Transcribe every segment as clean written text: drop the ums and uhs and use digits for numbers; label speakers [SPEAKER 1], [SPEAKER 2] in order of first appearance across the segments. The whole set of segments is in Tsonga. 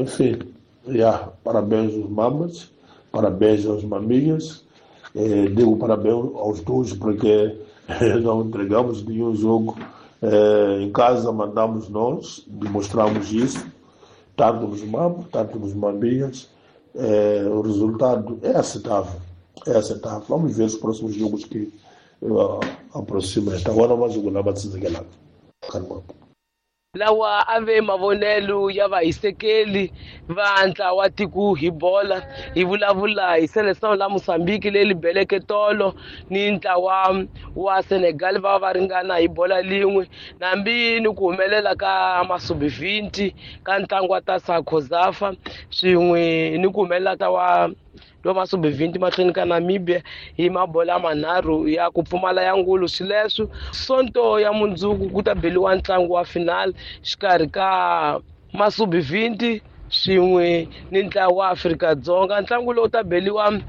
[SPEAKER 1] Enfim, yeah, parabéns aos mamas, parabéns aos maminhas. Digo parabéns aos dois porque não entregamos nenhum jogo. Em casa mandamos nós, demonstramos isso, tanto nos mamos, tanto nos maminhas. O resultado é aceitável, é aceitável. Vamos ver os próximos jogos que aproximam. Agora mais um na batizela.
[SPEAKER 2] Lawa a ve mavonelo ya vahisekeli va ntlawa tiko hi bola hi vulavula hi Seleção la Mozambique leyi beleke tolo ni ntlawa wa Senegal va va ringana hi bola lin'we nambi ni ku humelela ka Masubi-20 ka ntlangu wa ta COSAFA swin'we ni ku humelela ta wa lo Masubi-20 mahlweni ka Namibia hi mabola manharhu ya ku pfumala ya ngulu. Swileswo Sonto ya mundzuku ku ta beliwa ntlangu wa final xikarhi ka Masubi-20 swin'we ni ntlawa wa Afrika-Dzonga. Ntlangu lowu ta beliwa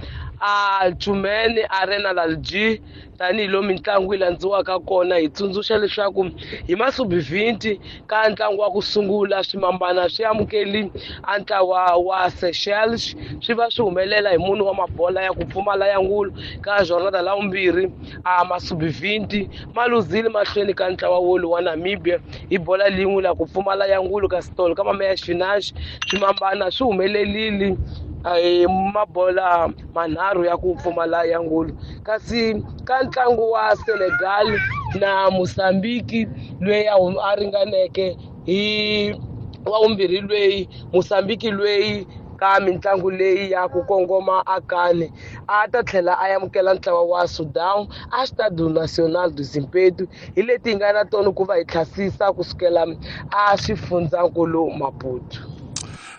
[SPEAKER 2] a Chumene Arena Lalji tanihi mitlangu yi landziwaka kona. Hi tsundzuxa leswaku hi Masubi-20 ka ntlangu wa ku sungula swimambana swi amukeli a ntlawa wa Seychelles swi va swi humelela hi munhu wa mabola ya ku pfumala ya ngulu. Ka jornada la vumbirhi a Masubi-20 ma luzile mahlweni ka ntlawa wolu wa Namibia hi bola lin'we la ku pfumala ya ngulu. Kasi tolo ka mameya xifinaxi swimambana swi humelelile mabola manharhu ya ku pfumala ya ngulu. Kasi ka ntlangu wa Senegal na Mozambique loyi a ringaneke hi wa vumbirhi loyi Mozambique loyi ka mitlangu leyi ya ku kongoma akani a ta tlhela a amukela ntlawa wa Sudan a Stade National do Zimpeto. Hi leti hi nga na tona ku va hi tlhasisa kusukela a xifundzankulu Maputo.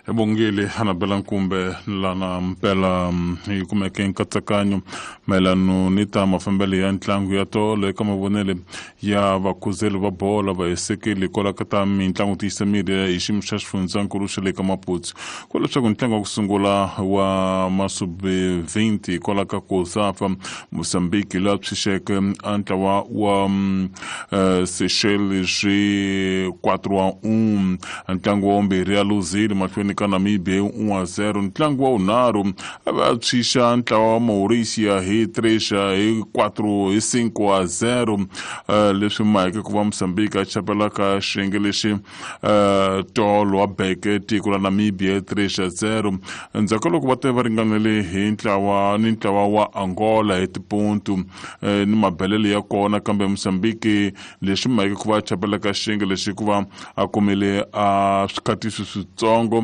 [SPEAKER 3] Ebongile Anabela Nkumbe lana mpela hi kumeke nkatsakanyo mayelano ni ta mafambelo ya ntlangu ya tolo eka mavonele ya vakhuzeli va bola vahisekeli kwala ka ta mitlangu tiyisa miri hi xiyimo xa xifundzankulu xa le ka Maputo. Ku leswaku ntlangu wa ku sungula wa Masubi 20 kwala ka COSAFA, Mozambique laha tshunxeke a ntlawa wa Seychelles hi 4-1. Ntlangu wa vumbirhi ya luzile mahlweni ka Namibia hi 1-0. Ntlangu wa vunharhu a va tshunxa ntlawa wa Mauritia hi 3 hi 4 hi 5-0, leswi maheke ku va Mozambique a chapela ka xiyenge lexi tolo wa beke tiko la Namibia hi 3-0 endzhaku ka loko va te va ringanele hi ntlawa ni ntlawa wa Angola hi tipuntu ni mabelelo ya kona. Kambe Mozambique leswi maheke ku va chapela ka xiyenge lexi hikuva a kumile a swikhatiso switsongo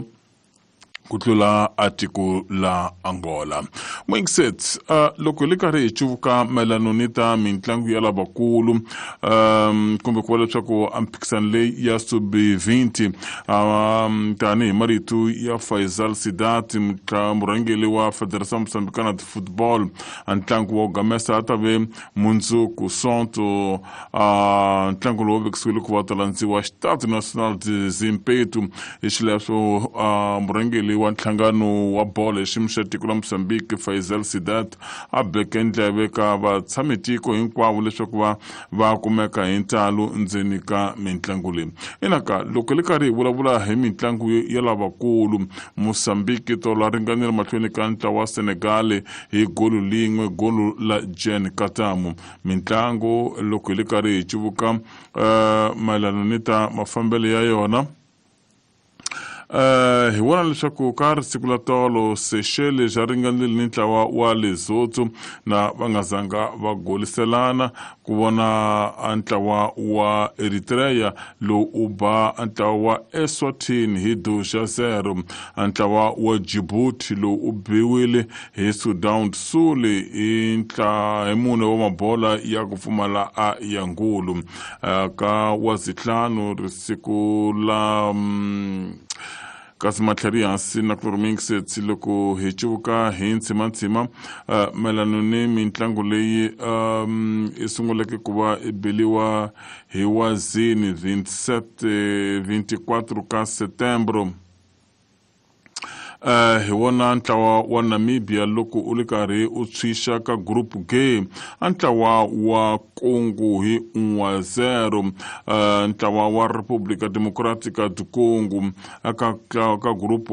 [SPEAKER 3] ku tlula a tiko la Angola. Mwingiset, loko hi le karhi hi cuvuka mayelano ni ta mitlangu ya lavakulu, kumbe ku va leswaku a mphikisano leyi ya Subi 20, tanihi marito ya Faisal Sidat, murhangeri wa Federação Moçambicana de Football, a ntlangu wa gamesa a ta ve mundzuku Sonto. Ntlangu lowu vekisiwile ku va ta landziwa Stade National de Zimpeto. Hi xileswo murhangeri wa nhlangano wa bolo hi xiyimo xa tiko la Mozambique Faisal Sidat a beke ndleve ka vatshamitiko hinkwavo leswaku va va kumeka hi ntalo ndzeni ka mitlangu leyi. Inaka loko hi le karhi hi vulavula hi mitlangu ya lavakulu, Mozambique tolo a ringanile mahlweni ka ntlawa wa Senegal hi golu lin'we, golu la Jen Katamu. Mitlangu loko hi le karhi hi cuvuka mayelana ni ta mafambelo ya yona, hi vona leswaku ka risiku la tolo Seychelles xa ringanile ni ntlawa wa Lesotho na va nga zanga va goliselana. Ku vona a ntlawa wa Eritrea lowu u ba a ntlawa wa Eswatini hi 2-0. A ntlawa wa Djibouti lowu u biwile hi Sudan Sul hi hi mune wa mabola ya ku pfumala a ya ngulu. Ka wa zihlanu risiku la kasi matlhari hansi na chloromixet. Loko hi cuvuka hi ntsimantsima mayelano ni mitlangu leyi i sunguleke ku va i beliwa hi wazini 27 24 ka setembro, hi wona ntlawa wa Namibia loko u ri karhi u tshwixa ka Group G a ntlawa wa Congo hi 1-0. Ntlawa wa Republika Democratica du Congo ka group